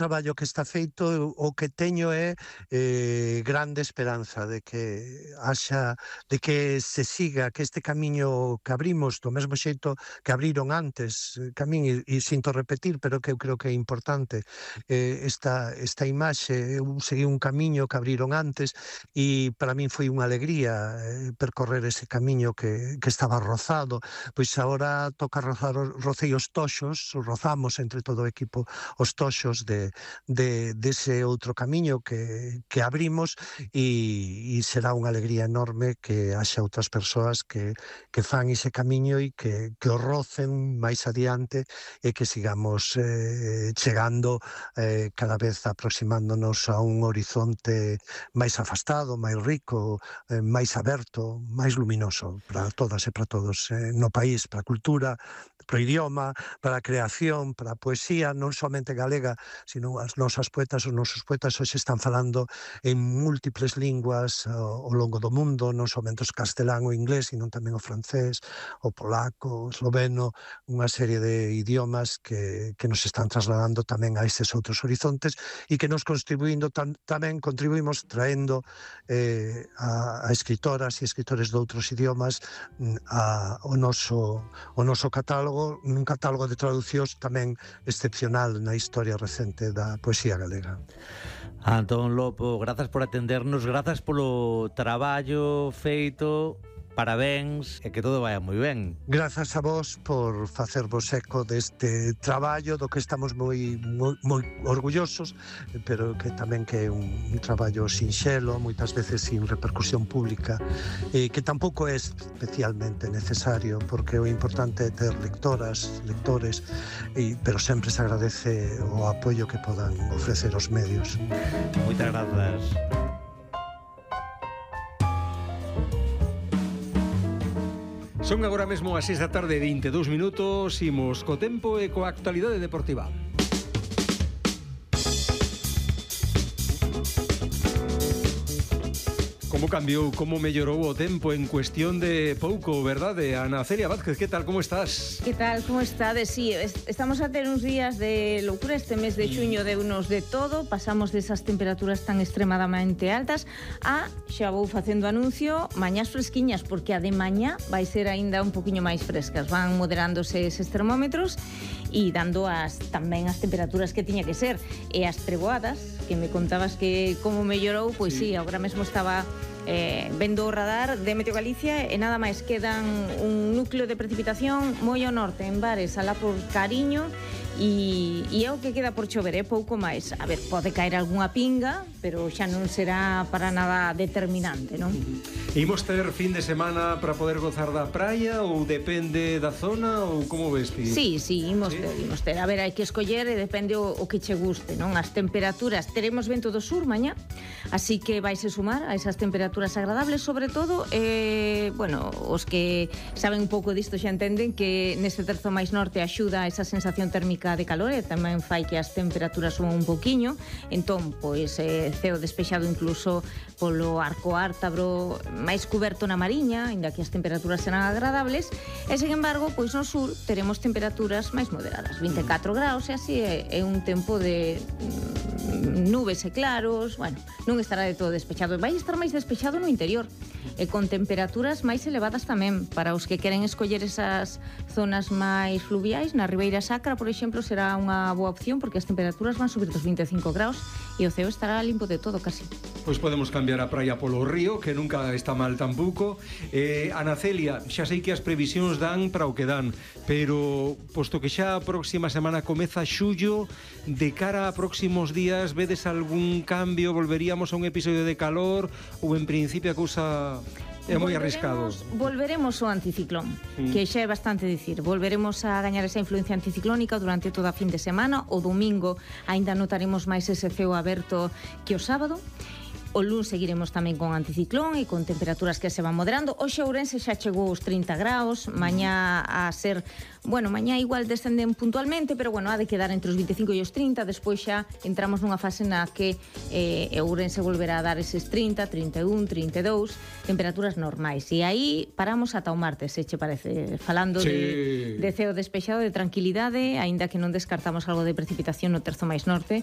traballo que está feito, o que teño é grande esperanza de que se siga, que este camiño que abrimos do mesmo xeito que abriron antes, camín, e sinto repetir, pero que eu creo que é importante, esta imaxe, eu segui un camiño que abriron antes e para min foi unha alegría percorrer ese camiño que estaba rozado, pois agora toca rocei os toxos, rozamos entre todo o equipo os toxos dese outro camiño que abrimos e será unha alegría enorme que haxa outras persoas que fan ese camiño e que o rocen máis adiante e que sigamos chegando cada vez aproximándonos a un horizonte máis afastado, máis rico, máis aberto, máis luminoso para todas e para todos no país, para a cultura, para o idioma, para a creación, para a poesía, non somente galega, sino as nosas poetas, os nosos poetas hoxe están falando en múltiples linguas ao longo do mundo, non somente o castelán ou inglés, sino tamén o francés, o polaco, o esloveno, unha serie de idiomas que nos están trasladando tamén a estes outros horizontes e que nos tamén contribuímos traendo a escritoras e escritores de outros idiomas ao noso catálogo, un catálogo de traducións tamén excepcional na historia recente da poesía galega. Antón Lopo, grazas por atendernos, grazas polo traballo feito, parabéns e que todo vaya moi ben. Grazas a vos por facervos eco deste traballo do que estamos moi orgullosos, pero que tamén que é un traballo sinxelo, moitas veces sin repercusión pública, e que tampouco é especialmente necesario, porque o importante é ter lectoras, lectores, pero sempre se agradece o apoio que podan ofrecer os medios. Moitas grazas. Son agora mesmo as 6 da tarde, 22 minutos, imos co tempo e coa actualidade deportiva. Como cambiou, como mellorou o tempo en cuestión de pouco, verdade? Ana Celia Vázquez, que tal, como estás? Que tal, como estades? Sí, estamos a ter uns días de loucura. Este mes de xuño deunos de todo. Pasamos desas temperaturas tan extremadamente altas a, xa vou facendo anuncio, mañás fresquiñas, porque a de mañá vai ser aínda un poquinho máis frescas. Van moderándose eses termómetros e dando tamén as temperaturas que tiña que ser. E as treboadas, que me contabas que como mellorou, pois sí, agora mesmo estaba vendo o radar de Meteo Galicia e nada máis quedan un núcleo de precipitación moi ao norte, en Bares, alá por Cariño, e é o que queda por chover, pouco máis. A ver, pode caer algunha pinga, pero xa non será para nada determinante, non? Imos ter fin de semana para poder gozar da praia ou depende da zona ou como ves, Pi? Sí, imos ter. A ver, hai que escoller e depende o que che guste, non? As temperaturas, teremos vento do sur mañá, así que vais a sumar a esas temperaturas agradables, sobre todo, bueno, os que saben un pouco disto xa entenden que neste terzo máis norte axuda a esa sensación térmica de calor e tamén fai que as temperaturas suban un poquiño. Entón, pois, ceo despexado incluso polo Arco Ártabro, máis cuberto na Mariña, ainda que as temperaturas serán agradables, e, sen embargo, pois no sur teremos temperaturas máis moderadas, 24 graus, e así é un tempo de nubes e claros. Bueno, non estará de todo despexado, vai estar máis despexado no interior, e con temperaturas máis elevadas tamén. Para os que queren escoller esas zonas máis fluviais, na Ribeira Sacra, por exemplo, será unha boa opción, porque as temperaturas van subir dos 25 graus e o ceo estará limpo de todo, casi. Pois podemos cambiar a praia polo río, que nunca está mal tampouco. Ana Celia, xa sei que as previsións dan para o que dan, pero posto que xa a próxima semana comeza xullo, de cara a próximos días, vedes algún cambio? Volveríamos a un episodio de calor ou en principio a cousa é moi arriscado? Volveremos ao anticiclón, que xa é bastante dicir. Volveremos a gañar esa influencia anticiclónica durante toda a fin de semana. O domingo aínda notaremos máis ese ceo aberto que o sábado. O luns seguiremos tamén con anticiclón e con temperaturas que se van moderando. Hoxe Ourense xa chegou aos 30 graus, mañá a ser... Bueno, mañá igual descenden puntualmente, pero bueno, ha de quedar entre os 25 e os 30. Despois xa entramos nunha fase na que Ourense volverá a dar eses 30, 31, 32, temperaturas normais. E aí paramos ata o martes, se che parece, falando de ceo despexado, de tranquilidade, aínda que non descartamos algo de precipitación no terzo máis norte,